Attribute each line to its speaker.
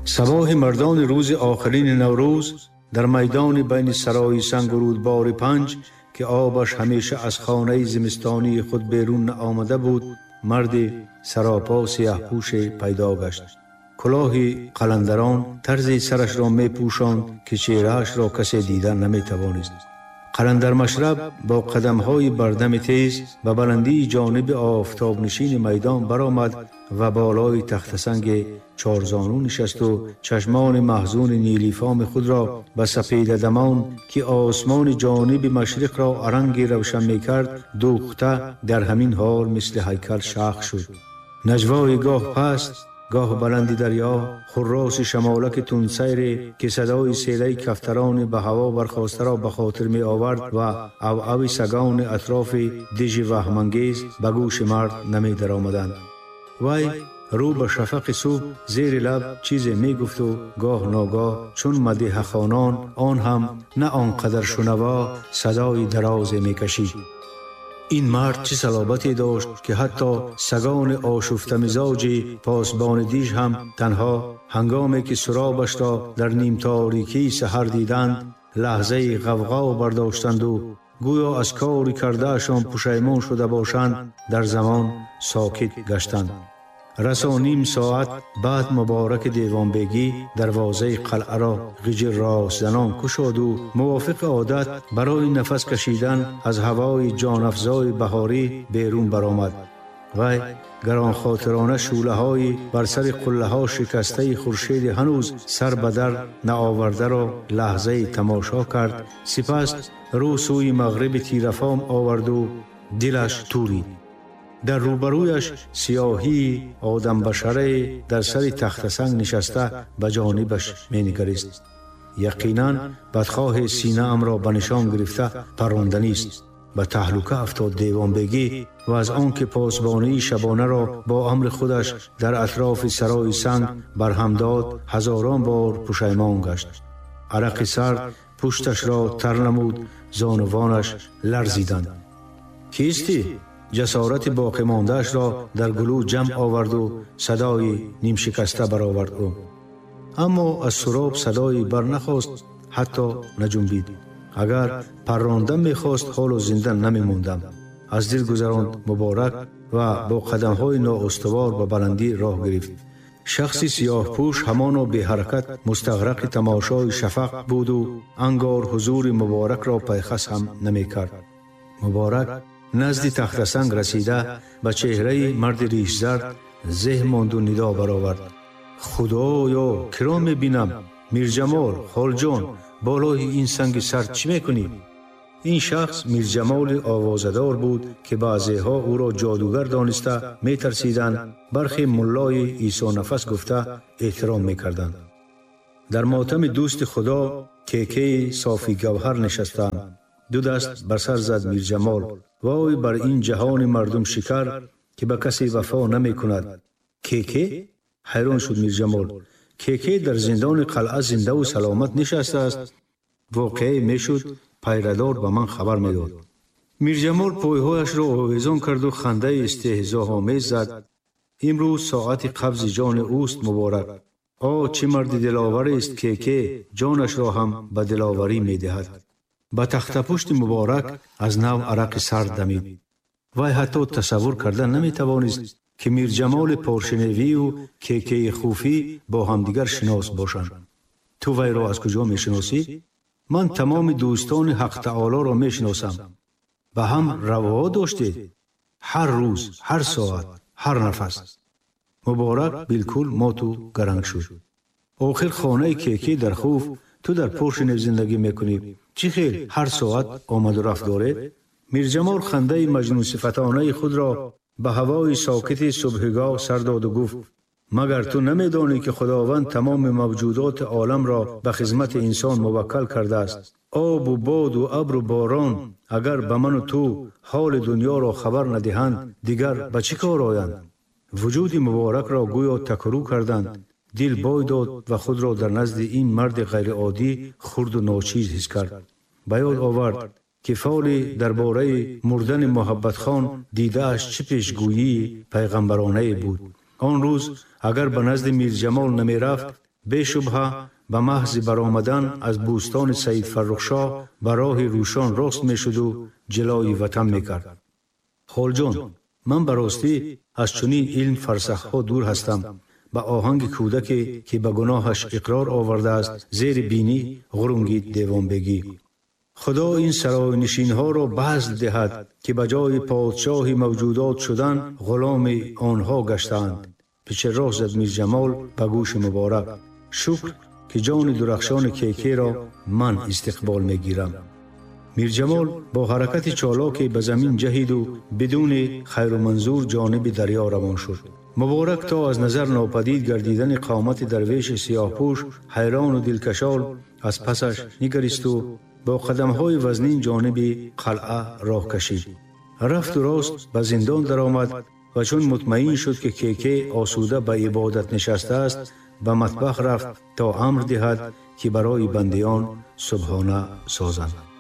Speaker 1: Сабоҳи мардони рӯзи охирини Наврӯз дар майдони байни сарои санг у рӯдбори Панҷ, ки обаш ҳамеша аз хонаи зимистонии худ берун наомада буд, марди саропо сияҳпӯше пайдо гашт. Кулоҳи қаландарон тарзи сарашро мепӯшонд, ки чеҳраашро касе дида наметавонист. Қаландармашраб бо қадамҳои бардами тез ба баландии ҷониби офтобнишини майдон баромад ва болои тахтасанги чорзону нишасту чашмони маҳзуни нилифоми худро ба сапедадамон, ки осмони ҷониби машриқро аранги равшан мекард, дӯхта дар ҳамин ҳол мисли ҳайкал шах шуд. Наҷвои гоҳ паст, гоҳ баланди дарё, хурроси шамолаки тундсайре, ки садои селаи кафтарони ба ҳаво бархостаро ба хотир меовард ва авави сагони атрофи дижи ваҳмангез ба гӯши мард намедаромаданд. Вай рӯ ба шафақи субҳ зери лаб чизе мегуфту гоҳ ногоҳ чун мадиҳахонон, он ҳам на он қадар шунаво, садои дарозе мекашид. Ин мард чӣ салобате дошт, ки ҳатто сагони ошуфтамизоҷи посбони диж ҳам танҳо ҳангоме ки суробашро дар нимторикии саҳар диданд, лаҳзаи ғавғо бардоштанду гӯё аз кори кардаашон пушаймон шуда бошанд, дар замон сокит гаштанд. Расо ним соат баъд Мубораки Девонбегӣ дарвозаи қалъаро ғиҷир ростзанон кушоду мувофиқи одат барои нафас кашидан аз ҳавои ҷонафзои баҳорӣ берун баромад. Вай гаронхотирона шӯълаҳои бар сари қуллаҳо шикастаи хуршеди ҳанӯз сар ба дар наовардаро лаҳзаи тамошо кард, сипас рӯ сӯи мағриби тирафом оварду дилаш турид. Дар рӯбарӯяш сиёҳии одамбашарае дар сари тахтасанг нишаста ба ҷонибаш менигарист. Яқинан бадхоҳи синаамро ба нишон гирифта парронданист. Ба таҳлука афтод Девонбегӣ ва аз он ки посбонии шабонаро бо амри худаш дар атрофи сарои санг барҳам дод, ҳазорон бор пушаймон гашт. Арақи сард пушташро тар намуд, зонувонаш ларзиданд. Кистӣ? Ҷасорати боқимондаашро дар гулӯ ҷамъ оварду садои нимшикаста баровард ӯ. Аммо аз суроб садое барнахост, ҳатто наҷунбид. Агар парронда мехост, ҳоло зинда намемондам. Аз дил гузаронд Муборак ва бо қадамҳои ноустувор ба баландӣ роҳ гирифт. Шахси сиёҳпӯш ҳамоно беҳаракат мустағрақи тамошои шафақ буду ангор ҳузури Муборакро пайхас ҳам намекард. Муборак назди тахтасанг расида ба чеҳраи марди ришзард зеҳ монду нидо баровард: Худоё, киро мебинам? Мирҷамол, холҷон, болои ин санги сард чӣ мекунӣ? Ин шахс Мирҷамоли овозадор буд, ки баъзеҳо ӯро ҷодугар дониста метарсиданд, бархе муллои Исонафас гуфта эҳтиром мекарданд. Дар мотами дӯсти Худо кекаи софи гавҳар нишастаам. Ду даст бар сар зад Мирҷамол. Вой бар ин ҷаҳони мардумшикар, ки ба касе вафо намекунад. Кеке? Ҳайрон шуд Мирҷамол. Кеке дар зиндони қалъа зиндаву саломат нишастааст. Воқеае мешуд, пайрадор ба ман хабар медод. Мирҷамол пойҳояшро овезон карду хандаи истеҳзоҳомез зад. Имрӯз соати қабзи ҷони ӯст, Муборак. О, чӣ марди диловарест Кеке, ҷонашро ҳам ба диловарӣ медиҳад. Ба тахтапушти Муборак аз нав арақи сард дамид. Вай ҳатто тасаввур карда наметавонист, ки Мирҷамоли Поршиневию Кекеи Хуфӣ бо ҳамдигар шинос бошанд. Ту вайро аз куҷо мешиносӣ? Ман тамоми дӯстони Ҳақтаолоро мешиносам. Ба ҳам раво доштед? Ҳар рӯз, ҳар соат, ҳар нафас. Муборак билкул моту гаранг шуд. Охир хонаи Кеке дар Хуф, ту дар Поршинев зиндагӣ мекунӣ. Чӣ хел ҳар соат омаду рафт доред? Мирҷамол хандаи маҷнунсифатонаи худро ба ҳавои сокити субҳигоҳ сар доду гуфт: магар ту намедонӣ, ки Худованд тамоми мавҷудоти оламро ба хизмати инсон муваккал кардааст? Обу боду абру борон агар ба ману ту ҳоли дунёро хабар надиҳанд, дигар ба чӣ кор оянд? Вуҷуди Муборакро гӯё такрӯ карданд. Дил бой дод ва худро дар назди ин марди ғайриоддӣ хурду ночиз ҳис кард. Ба ёд овард, ки фоли дар бораи мурдани Муҳаббатхон дидааш чӣ пешгӯии пайғамбаронае буд. Он рӯз агар ба назди Мирҷамол намерафт, Бешубҳа ба маҳзи баромадан аз бӯстони Саид Фаррухшоҳ ба роҳи Рӯшон рост мешуду ҷилои ватан мекард. Холҷон, ман ба ростӣ аз чунин илм фарсахҳо дур ҳастам. Ба оҳанги кӯдаке, ки ба гуноҳаш иқрор овардааст, зери бинӣ ғурунгид Девонбегӣ. Худо ин саройнишинҳоро базл диҳад, ки ба ҷои подшоҳи мавҷудот шудан ғуломи онҳо гаштаанд. Пичи рост зад Мирҷамол ба гӯши Муборак. Шукр, ки ҷони дурахшони Кекеро ман истиқбол мегирам. Мирҷамол бо ҳаракати чолоке ба замин ҷаҳиду бидуни хайру манзур ҷониби дарё равон шуд. Муборак то аз назар нопадид гардидани қомати дарвеши сиёҳпӯш ҳайрону дилкашол аз пасаш нигаристу бо қадамҳои вазнин ҷониби қалъа роҳ кашид. Рафту рост ба зиндон даромад ва чун мутмаин шуд, ки Кеке осуда ба ибодат нишастааст, ба матбах рафт, то амр диҳад, ки барои бандиён субҳона созанд.